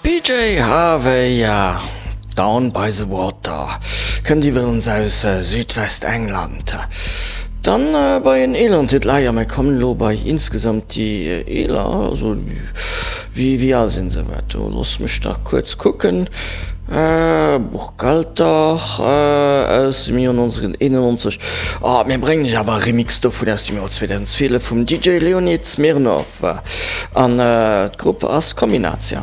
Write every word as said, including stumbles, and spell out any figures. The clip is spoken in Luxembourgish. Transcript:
PJ Harvey, ja, Down by the Water, kënnt iwwerens aus Südwestengland. Dann bei en eeleren Titel, ah jo, mir kommen elo bei insgesamt déi eeler, also wéi wéi al sinn se, wat do, looss mech dach kuerz kucken, Buchhalter aus dem Joer neunzehnhunderteinundneunzeg, ah mir bréngen iech awer e Remix dovun aus dem Joer zweedausendzwielef vum D J Leonid Smirnov an d'Grupp ass Kombinacja.